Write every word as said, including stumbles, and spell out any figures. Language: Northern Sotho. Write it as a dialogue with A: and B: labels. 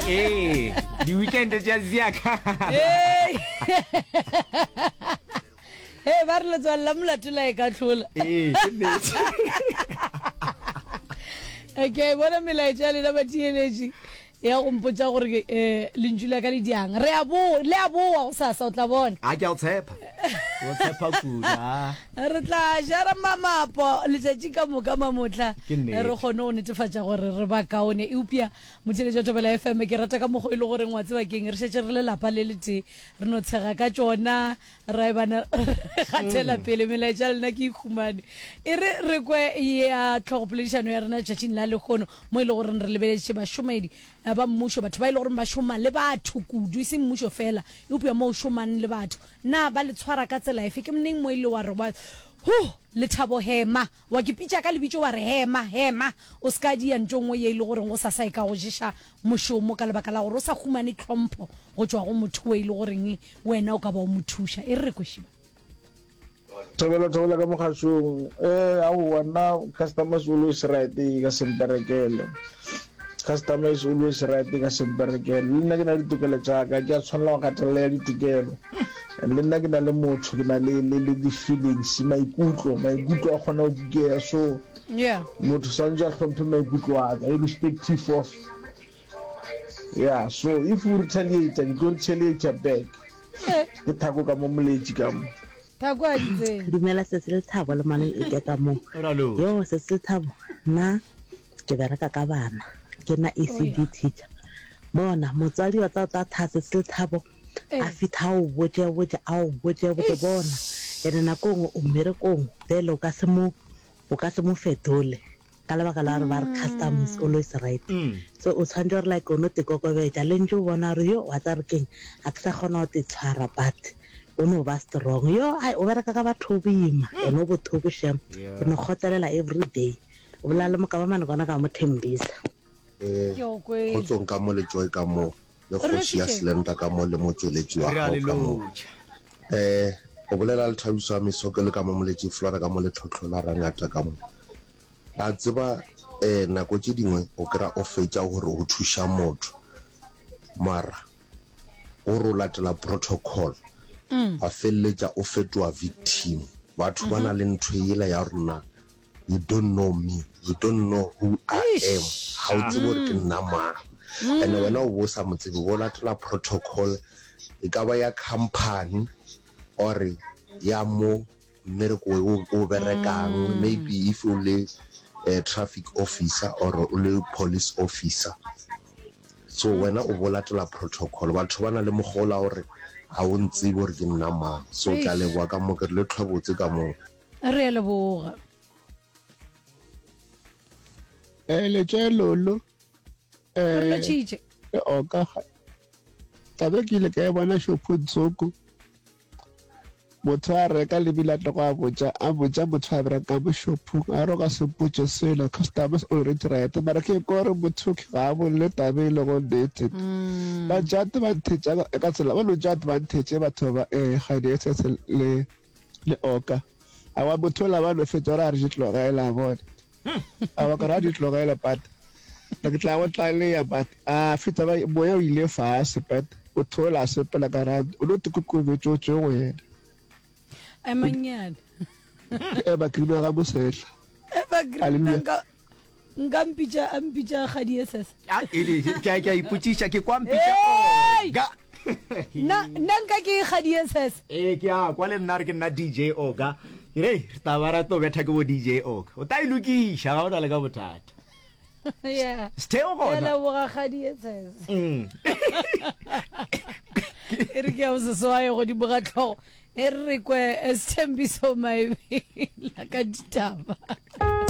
A: Ee, di-weekend tša ziaka.
B: Hey. Hey, ba re letswalo la molato la e ka tlhola.
A: Ee, ke nnete.
B: Okay, bona melaetša ya lena batheeletši ya go mpotša gore um lentšu la ka le diang. Re a boa, le a boa gosasa o tla bona.
A: A ke a o tshepa. O tshepa kudu. ah.
B: Re tla jara mamapo letšatši ka moka mamotla
A: Ke nnete.
B: re kgone go netefatša gore re ba kaone. Eupša motheeletši wa Thobela F M ke rata ka mokgwa e le goreng wa tseba keng re šetše re le lapa le letee re no tshega ka tšona ra ebana re gatela pele melaetša ya lena ke e humane. E re re kwe ya tlhogopoledišano ya rena letšatšing la lehono mo e le goreng re lebeletše bašomedi eh, ba mmušo, batho ba e le goreng ba šoma le batho kudu, e seng mmušo fela eupša mo o šomang le batho. Na ba le tshwara ka tsela efe? Ke neng mo e le wa re wa hu lethabo hema wa ke pitša ka lebitso wa re hema hema o se ka dia ntho nngwe ye e le goreng go sasa e ka go ješa mošomo ka lebaka la gore o sa humane tlhompho go tšwa go motho o e le goreng wena o ka ba o mo thuša. E re re kwešiba.
C: Thobela thobela ka mogašong. Eh aowa nna customer is always right e ka se mperekele. Customer is always right e ka se mperekele. Le nna ke na le ditokelo tša ka, ke a tshwanela go gatelela ya ditokelo. And le nna ke na le motho, ke na le le le di-feelings, maikutlo, maikutlo a kgona go kukea. So
B: Yeah.
C: motho swantse a hlomphe maikutlo a ka irrespective of yeah. So if o retaliate, ke tlo retaliate back.
B: Eh,
C: Ke thako ka mo moletši ka mo.
B: Thako a di tsene.
D: Dumela sesi Lethabo le manong e ke ka mo.
A: Ra lotšha.
D: Yo sesi Lethabo, nna ke bereka ka bana, ke nna E C D teacher. Bona motswadi wa tla tla tha sesi Lethabo a
B: Eh.
D: fitha a o botše botše a o botše botše bona. Ene nako nngwe o mmerekong bjale o ka se mo o ka se mo fetole ka lebaka la gore ba re customer is always right.
A: Mm.
D: So o tshwanetse gore like o no te kokobetša le ntse o bona gore yo wa tsa re keng a ke sa kgona go te tshwara but o no ba strong. Yo ai o bereka ka batho boima ene o bothoko shem. O no
A: Yeah.
D: kgotlelela every day. O bolela le moka ba mane kona ka mo Thembisa.
E: Eh,
B: Ke o kwele.
E: kgotsong ka mo le Joy ka mo le
B: Re
E: kgoši ya
B: lotšhitše.
E: Slender ka mo le motšweletši wa
A: Re a
E: gago
A: le
E: ka mo.
A: lotšha.
E: Eh, o bolela le Thabiso ya Mesoke le ka mo Moletši Flora ka mo le Tlhotlho la Rangata ka mo. A tseba eh nako tše dingwe o kra o fetša gore o thuša motho mara o re o latela protocol wa feleletša o fetoga victim. Batho ba na le ntho yela ya rona, you don't know me, you don't know who I am,
B: Eish.
E: ga o tsebe gore ke nna mang. And wena o bo o sa mo tsebe, o bo latela protocol e ka ba ya company or ya mo mmereko o o berekang, maybe if o le eh, traffic officer or o le police officer. So wena o bo latela protocol. Batho ba na le mokgwa ola gore ga o ntsebe gore ke nna mang. So ke a
B: Eish.
E: leboga ka mo, ke re le tlhobotse ka moo.
B: Re a leboga.
F: Eh, letše lolo
B: Re
F: eh
B: lotšhitše.
F: e oka taba ke ile ka e bona shopong tsoko motho a reka lebile a tlo go a botša a botša motho a berekang mo shopong a re o ka se mpotše selo customers already right mara ke ko gore motho ke ga a bolele taba e lego nnete ba tša advantage ka ka tsela ba no tša advantage batho ba eh ga di le le oka awa motho ola ba no fetša gore a re di tlogela bone awa ka re a di tlogela but ke tla go tlalea but a fetša ba moya o ile fase but motho ola a sepela ka ra o no tikokobetše o tšwe go yena.
B: Emanyane.
F: Ke ema green ga mosehla.
B: Ema green
F: Hallelujah.
B: nka nka mpitša a mpitša kgadi e sese.
A: A e ke a ke a ipotšiša ke kwa mpitša
B: Hey!
A: Oga.
B: Nna nna nka ke kgadi e sese.
A: Ee ke a kwa le nna re ke nna D J Oga. Ke re re tla ba ra tlo betha ke bo D J Oga. O tla e lokiša ga o na le ka bothata.
B: Yeah.
A: Setheo
B: Ke a
A: gona.
B: leboga kgadi e sese.
A: Mm.
B: E re ke ya boseswae godimo ga tlhogo. E re re kwe Sthembiso Maebela ka ditaba.